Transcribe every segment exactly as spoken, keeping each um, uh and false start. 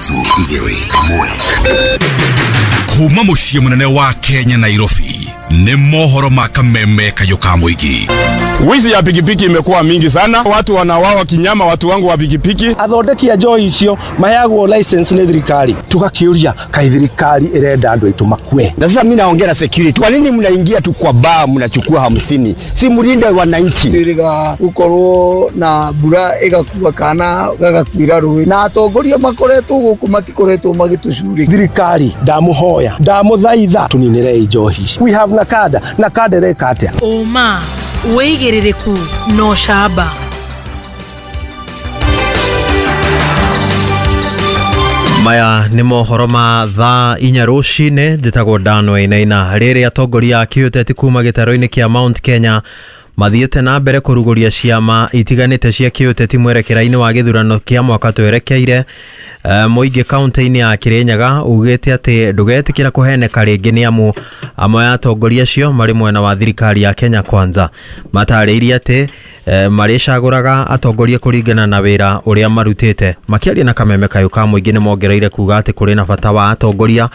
Ithatũ, igĩrĩ, ĩmwe. Kuma mũciĩ mũnene wa Kenya, Nairobi, nĩ mohoro ma Kameme Kayũ ka Mũingĩ. Wizi ya pikipiki imekuwa mingi sana, watu wanauawa kinyama, watu wangu wa pikipiki. Athondeki a njohi icio maheagwo license nĩ thirikari. Tugakiuria, kai thirikari ĩrenda andũ aitũ makue? Na sasa mimi naongea na security. Kwa nini mnaingia tu kwa baa mnachukua hamsini? Si mlinde wananchi. Twĩrĩga gũkorwo na mbura ĩgakua kana gagakuĩra rũĩ, na atongoria makoretwo gũkũ matikoretwo magĩtũcurĩkia. Thirikari, ndamũhoya, ndamũthaitha, tũninĩrei njohi ici. We have NACADA. NACADA ĩreka atĩa? Ũma, wĩigĩrĩrĩku na ũcamba. Maya nĩ mohoro ma thaa inya rũcinĩ. Njĩtagwo Dan Wainaina. Rĩrĩ atongoria a kĩũteti kuma gĩtarũ-inĩ kĩa Mount Kenya mathiĩte na mbere kũrugũria ciama itiganĩte cia kĩũteti mwerekera-inĩ wa gĩthurano kĩa mwaka twerekeire, mũingĩ kaunti-inĩ ya Kirinyaga ugĩte atĩ ndũgetĩkĩra kũheneka rĩngĩ nĩ amu amwe a atongoria acio marĩ mwena wa thirikari ya Kenya Kwanza. Matarĩirie atĩ marĩcagũraga atongoria kũringana na wĩra ũrĩa marutĩte. Makĩaria na Kameme Kayũ ka Mũingĩ nĩ mongereire kuga atĩ kũrĩ na bata wa atongoria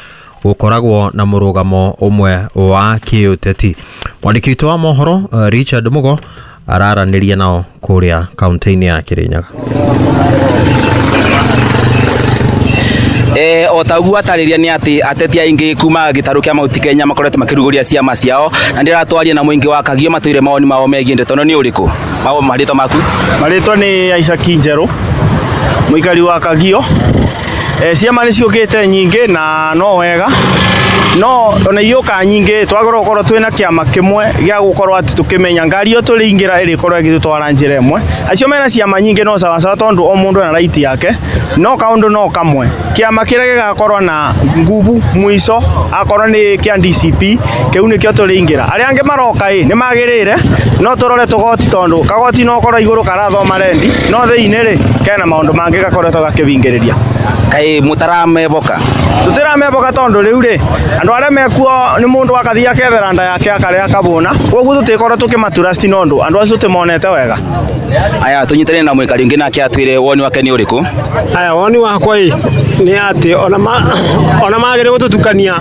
gũkoragwo na mũrũgamo ũmwe wa kĩũteti. Mwandĩki witũ wa mohoro Richard Mugo araranĩria nao kũrĩa kaunti-inĩ ya Kirinyaga. Eh, o ta ũguo atarĩria nĩ atĩ ateti aingĩ kuma gĩtarũ kĩa Mount Kenya makoretwo makĩrugũria ciama ciao, na ndĩratwaria na mũingĩ wa Kagio matwĩre mawoni mao megiĩ ndeto ĩno nĩ ũrĩkũ. Mao marĩtwa maku? Marĩtwa nĩ Isaac Njerũ, mũikari wa Kagio. E, ciama nĩ ciũkĩte nyingĩ na no wega, no ona iũka nyingĩ twagĩrĩirwo gũkorwo twĩna kĩama kĩmwe gĩa gũkorwo atĩ tũkĩmenya ngari ĩyo tũrĩingĩra ĩrĩkorwo ĩgĩtũtwara njĩra ĩmwe. Acio mena ciama nyingĩ no sawasawa, tondũ o mũndũ ena right yake, no kaũndũ no kamwe, kĩama kĩrĩa gĩgakorwo na ngubu mũico akorwo nĩ kĩa D C P, kĩu nĩkĩo tũrĩingĩra. Arĩa angĩ maroka ĩ nĩ magĩrĩire, no tũrore tũgoti, tondũ kagoti no korwo igũrũ karathoma rendi, no thĩinĩ rĩ kena maũndũ mangĩ gakoretwo gakĩbingĩrĩria. Kaĩ mũtarameboka? Tũtirameboka, tondũ rĩu rĩ andũ arĩa mekuo nĩ mũndũ akathiĩ akethera nda yake akarĩa akabũna, koguo tũtikorwo tũkĩmatrust nondũ andũ acio tũtimonete wega. Aya, tũnyitanĩre na mũikari ũngĩ nake atwĩre woni wake nĩ ũrĩkũ. Aya, woni wakwa ĩ nĩ atĩ ona ma ona magĩrĩire gũtũtukania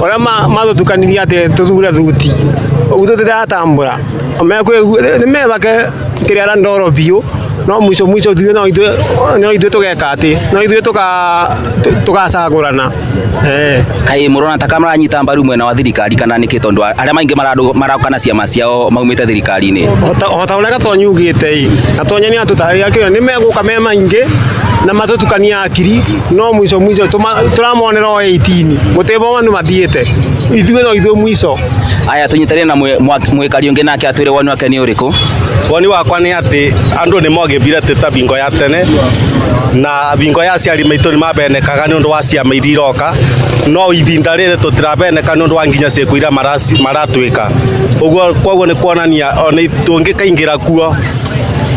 ũrĩa matũtukanirie atĩ tũthure thuti ũguo, tũtiratambũra nĩ mebake kĩrĩa ndoro biũ, no mwisho mwisho ithuĩ no ithuĩ no ithuĩ tũgeka atĩ no ithuĩ tũgacagũrana. Kaĩ mũrona ta maranyita mbaru mwena wa thirikari kana nĩkĩ, tondũ arĩa maingĩ maroka na ciama ciao maumĩte thirikari-inĩ? O ta ũrĩa Gatonyi ugĩte ĩ, Gatonyi nĩ atũtarĩria kĩo nĩ megũka me maingĩ na matũtukania akiri, no mwisho mwisho tũramonera o eighteen gũtĩ andũ mathiĩte, ithuĩ no ithuĩ mwisho. Aya, tũnyitanĩre na mwĩkari ũngĩ nake atwĩre woni wake nĩ ũrĩkũ. Woni wakwa nĩ atĩ andũ nĩ mogĩmbire ta bingo ya tene na bingo ya aciari maitũ nĩ mabenekaga nĩ ũndũ wa ciama iria iroka, no ibinda rĩrĩ tũtirabeneka nĩ ũndũ wa nginya ciĩko iria maratwĩka ũguo. Koguo nĩ kuonania ona tũngĩkaingĩra kuo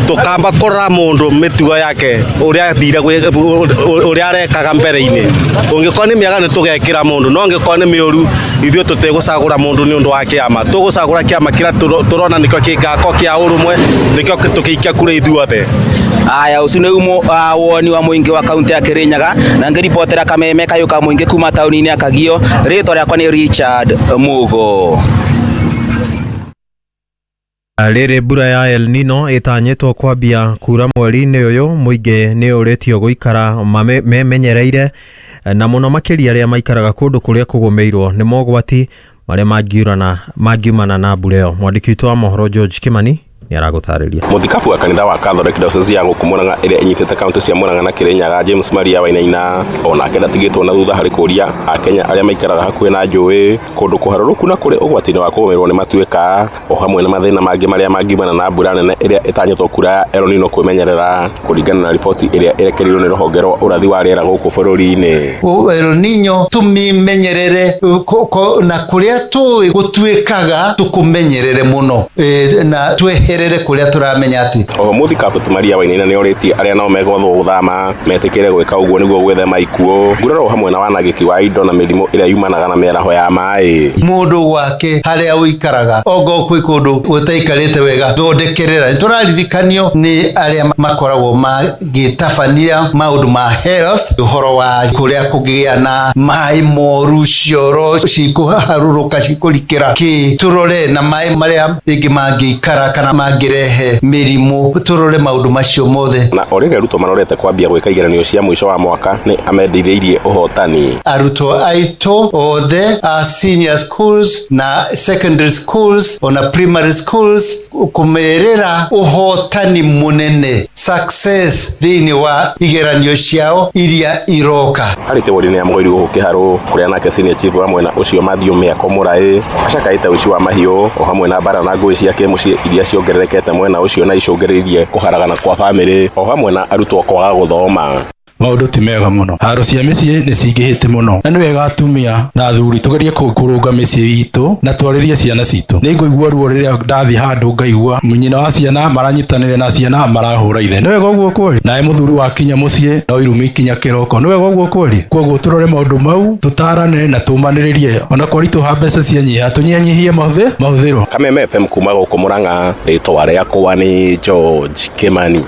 tũkamba kũrora mũndũ mĩtugo yake, ũrĩa athire, ũrĩa arekaga mbere-inĩ. Ũngĩkorwo nĩ mĩega nĩ tũgekĩra mũndũ, no ũngĩkorwo nĩ mĩũru ithuĩ tũtigũcagũra mũndũ nĩ ũndũ wa kĩama. Tũgũcagũra kĩama kĩrĩa tũrona nĩkĩo gĩgakorwo kĩa ũrũmwe, nĩkĩo tũgĩikia kura ithuothe. Aya, ũcio nĩ woni wa mũingĩ wa kaunti ya Kirinyaga, na ngĩribotera Kameme Kayũ ka Mũingĩ kuma taũni-inĩ ya Kagio, rĩtwa rĩakwa nĩ Richard Mugo. Rĩrĩ mbura ya El Nino ĩtanyĩtwo kwambia kura mweri-inĩ ũyũ, mũingĩ nĩ ũrĩtio gũikara memenyereire, na mũno makĩria arĩa maikaraga kũndũ kũrĩa kũgũmĩirwo nĩ mogwati marĩa mangiurana mangiumana na mbura ĩyo. Mwandĩki witũ wa mohoro George Kimani nĩ aragũtarĩria. Mũthikabu wa kanitha wa Catholic Diocese ya gũkũ Murang'a ĩrĩa ĩnyitĩte kaunti cia Murang'a na Kirinyaga, James Maria Wainaina, onake ndatigĩtwo na thutha harĩ kũria akenya arĩa maikaraga hakuhĩ na njũĩ, kũndũ kũharũrũku na kũrĩ ũgwati-inĩ wa kũgũmĩrwo nĩ matuĩka o hamwe na mathĩna mangĩ marĩa mangiumana na mbura nene ĩrĩa ĩtanyĩtwo kura ya El Nino kwĩmenyerera, kũringana na riboti ĩrĩa ĩrekereirio nĩ rũhonge rwa ũrathi wa rĩera gũkũ bũrũri-inĩ. El Nino tumimenyerere na kũrĩa tũĩ gũtuĩkaga tũkũmenyerere mũno, e, na twehere. Tũthondekerere kũrĩa tũramenya atĩ Oho mũthikabu Maria Wainaina nĩorĩtie arĩa nao megwathwo gũthama metĩkĩre gwĩka ũguo nĩguo gwĩthema ikuũ, nguraro hamwe na wanangĩki wa indo na mĩrimũ ĩrĩa yumanaga na mĩaraho ya maĩ. Mũndũ gwake harĩa ũikaraga ongo kwĩ kũndũ ũtaikarĩte wega, thondekerera. Nĩtũraririkanio nĩ arĩa makoragwo magĩtabania maũndũ ma health, ũhoro wa kũrĩa kũngĩgĩa na maĩ moru, cioro cikũharũrũka cikũrikĩra kĩ, tũrore na maĩ marĩa rĩngĩ mangĩikara kana mangĩrehe mĩrimũ, tũrore maũndũ macio mothe. Na o rĩrĩa arutwo marorete kwambia gwĩka igeranio cia mũico wa mwaka nĩ amendithĩirie ũhotani. Arutwo aitũ othe a senior schools na secondary schools ona primary schools kũmerĩra ũhotani mũnene, success thĩinĩ wa igeranio ciao iria iroka. Harĩ tĩwori-inĩ ya Mũgoiri gũkũ Kĩharũ kũrĩa nake senior chief wa mwena ũcio Matthew Mĩako Mũraĩ acakaĩte ũici wa mahiũ o hamwe na mbara na ngũĩ cia kĩmũciĩ iria ciongererekete mwena ũcio na icũngĩrĩirie kũharagana kwa bamĩrĩ o hamwe na arutwo kwaga gũthoma. Maũndũ ti mega mũno, haro cia mĩciĩ nĩ cingĩhĩte mũno, na nĩ wega atumia na athuri tũgerie kũrũnga mĩciĩ itũ na twarĩrie ciana citũ. Nĩ ngũigua ruo rĩrĩa ndathiĩ handũ ngaigua nyina wa ciana maranyitanĩra na ciana marahũra ithe. Nĩ wega ũguo kweli? Nawe mũthuri wakinya mũciĩ no irumi ikinya kĩroko. Nĩ wega ũguo kweli? Kwoguo tũrore maũndũ mau, tũtarane na tũmanĩrĩrie, ona kwaritũha mbeca cianyiha tũnyihanyihie mahũthĩro. Kameme F M kuma gũkũ Mũrang'a, rĩtwa rĩakwa nĩ George Kimani.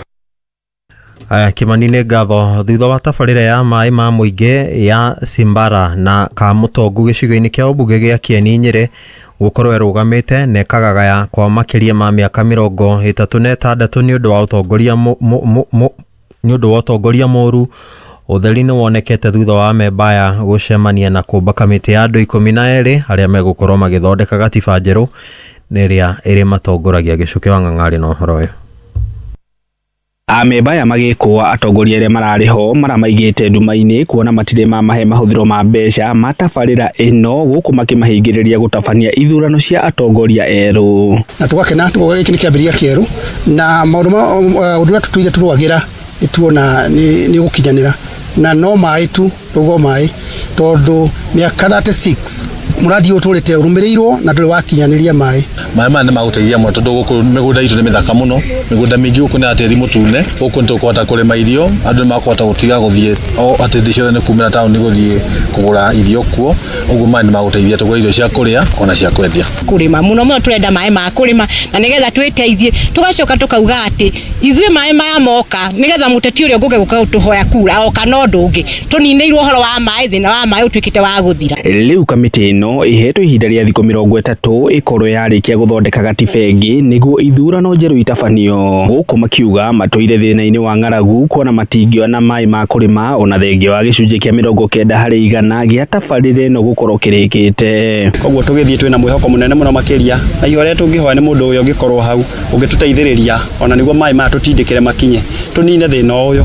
Aya, Kimani nĩ ngatho. Thutha wa tabarĩra ya maĩ ma mũingĩ ya Simbara na Kamũtongu gĩcigo-inĩ kĩa ũmbunge gĩa Kieni Nyĩrĩ gũkorwo ĩrũgamĩte na ĩkagagaya kwa makĩria ma mĩaka mĩrongo ĩtatũ na ĩtandatũ nĩ ũndũ wa ũtongoria nĩ ũndũ wa ũtongoria mũru, ũtheri nĩ wonekete thutha wa amemba aya gũcemania na kũmba kamĩtĩ ya andũ ikũmi na erĩ arĩa megũkorwo magĩthondeka gatiba njerũ na ĩrĩa ĩrĩmatongoragia. Gĩcukĩ wa Ng'ang'arĩ na ũhoro ũyũ. Amemba aya magĩkũa atongoria arĩa mararĩ ho maramaigĩte nduma-inĩ kuona matirĩ mamahe mahũthĩro ma mbeca ma tabarĩra ĩno gũkũ makĩmahingĩrĩria gũtabania ithurano cia atongoria erũ. Na tũgakena tukoga gĩkĩ nĩ kĩambĩrĩria kĩerũ na maũndũ ma ũndũ ũrĩa tũtũire tũrũagĩra nĩtuona nĩ gũkinyanĩra, na no maĩ tu tũgo maĩ tondũ mĩaka thirty six mũradi ũyũ ũtũrĩte ũrũmĩrĩirwo na ndũrĩ wakinyanĩria maĩ. Maĩ maya nĩ magũteithia mũno tondũ gũkũ mĩgũnda itũ nĩ mĩthaka mũno, mĩgũnda mĩingĩ gũkũ nĩ ya tĩri mũtune, gũkũ nĩ tũkũhota kũrĩma irio, andũ nĩ makũhota gũtiga gũthiĩ o atĩ hĩndĩ ciothe nĩ kumĩra taũni gũthiĩ kũgũra irio kuo, ũguo maĩ nĩ magũteithia tũgũre irio cia kũrĩa ona cia kwendia. Kũrĩma mũno mũno tũrenda maĩ ma kũrĩma na nĩgetha twĩteithie, tũgacoka tũkauga atĩ ithuĩ maĩ maya moka nĩgetha mũteti ũrĩa ũngũke gũka gũtũhoya kura oka na ũndũ ũngĩ tũninĩirwo ũhoro wa maĩ, thĩna wa maĩ ũtuĩkĩte wa gũthira. Rĩu kamĩtĩ ĩno ĩhetwo ihinda rĩa thikũ mĩrongo ĩtatũ ĩkorwo yarĩkia gũthondeka gatiba ĩngĩ nĩguo ithurano njerũ itabanio, gũkũ makiuga matũire thĩna-inĩ wa ng'aragu kuona matingĩona maĩ ma kũrĩma ona thengia wa gĩcunjĩ kĩa mĩrongo kenda harĩ igana gĩa tabarĩra ĩno gũkorwo kĩrĩkĩte. Koguo tũgĩthiĩ twĩna mwĩhoko mũnene mũno makĩria, na ihoya rĩrĩa tũngĩhoya nĩ mũndũ ũyũ ũngĩkorwo hau ũngĩtũteithĩrĩria ona nĩguo maĩ maya tũtindĩkĩre makinye tũnine thĩna ũyũ.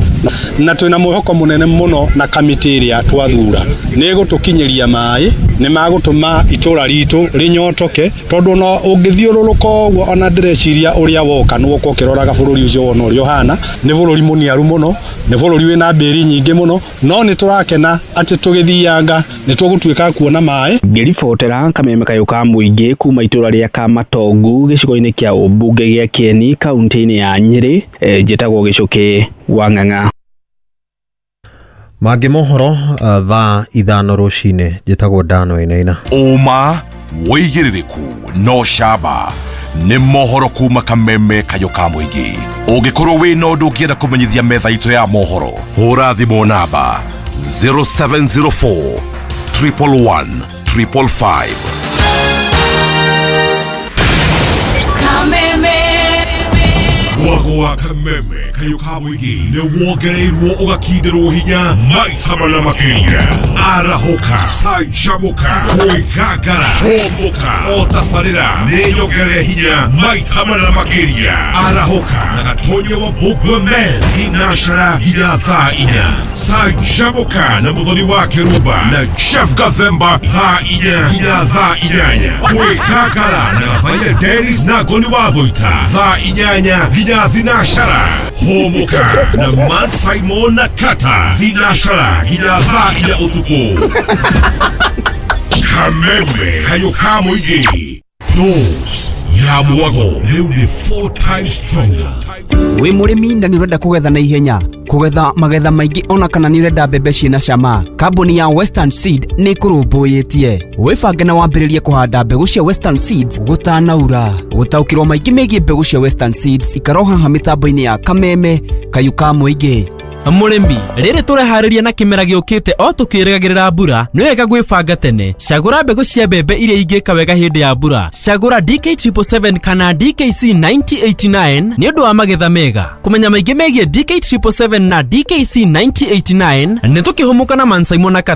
Na twĩna mwĩhoko mũnene mũno na kamĩtĩ ĩrĩa twathura nĩ ĩgũtũkinyĩria maĩ, nĩ magũtũma itũra ritũ rĩnyotoke tondũ ona ũngĩthiũrũrũka ũguo ona ndĩreciria ũrĩa woka nĩ woka ũkĩroraga bũrũri ũcio wona ũrĩa ũhana, nĩ bũrũri mũniaru mũno, nĩ bũrũri wĩna mbĩri nyingĩ mũno, no nĩ tũrakena atĩ tũgĩthianga nĩ tũgũtuĩka kuona maĩ. Ngĩribotera kameme kayũ ka mũingĩ kuma itũra rĩa Kamatongu gĩcigo-inĩ kĩa ũmbunge gĩa Kieni kaunti-inĩ ya Nyĩrĩ, njĩtagwo Gĩcukĩ wa Ng'ang'a. Mangĩ mohoro uh, thaa ithano rũcinĩ. Njĩtagwo Dano Wainaina. Ũma wĩigĩrĩrĩku no camba nĩ mohoro kuma kameme kayũ ka mũingĩ. Ũngĩkorwo wĩna ũndũ ũngĩenda kũmenyithia metha itũ ya mohoro, hũra thimũ namba zero seven zero four triple one triple five. Kameme Mwago wa kameme kayũ ka mũingĩ nĩ wongereirwo ũgakindĩrwo hinya maita mana makĩria. Arahũka, canjamũka, kwĩgangara, hũmũka, o tabarĩra nĩ nyongerere hinya maita mana makĩria. Arahũka na Gatonya wa Mbũgua Men thinashara nginya thaa inya. Canjamũka na Mũthoni wa Kĩrumba na Chef Gathemba thaa inya nginya thaa inyanya. Kwĩgangara na Gathaiya Dennis na Ngoni wa Thũita thaa inyanya nginya thinashara. Hũmũka na Man Simon na Kata thinashara nginya thaa inya ũtukũ. Kameme kayũ ka mũingĩ. Dose Ya mwago rĩu nĩ four times stronger. Wĩ mũrĩmi na nĩ ũrenda kũgetha na ihenya, kũgetha magetha maingĩ, ona kana nĩ ũrenda mbembe ciĩna cama, kambuni ya Western Seed nĩ ĩkũrũmbũyĩtie. Wĩbange na wambĩrĩrie kũhanda mbegũ cia Western Seeds gũtanaura. Gũtaũkĩrwo maingĩ megiĩ mbegũ cia Western Seeds, ikara haha mĩtambo-inĩ ya Kameme Kayũ ka Mũingĩ. Mũrĩmi, rĩrĩ tũreharĩria na kĩmera gĩũkĩte o tũkĩrĩgagĩrĩra mbura, nĩ wega gwĩbanga tene. Cagũra mbegũ cia mbembe iria ingĩka wega hĩndĩ ya mbura. Cagũra D K seven seven seven kana D K C nine zero eight nine nĩ ũndũ wa magetha mega. Kũmenya maingĩ megiĩ D K seven seven seven na D K C nine zero eight nine, nĩ tũkĩhũmũka na Mansaimo na Kata.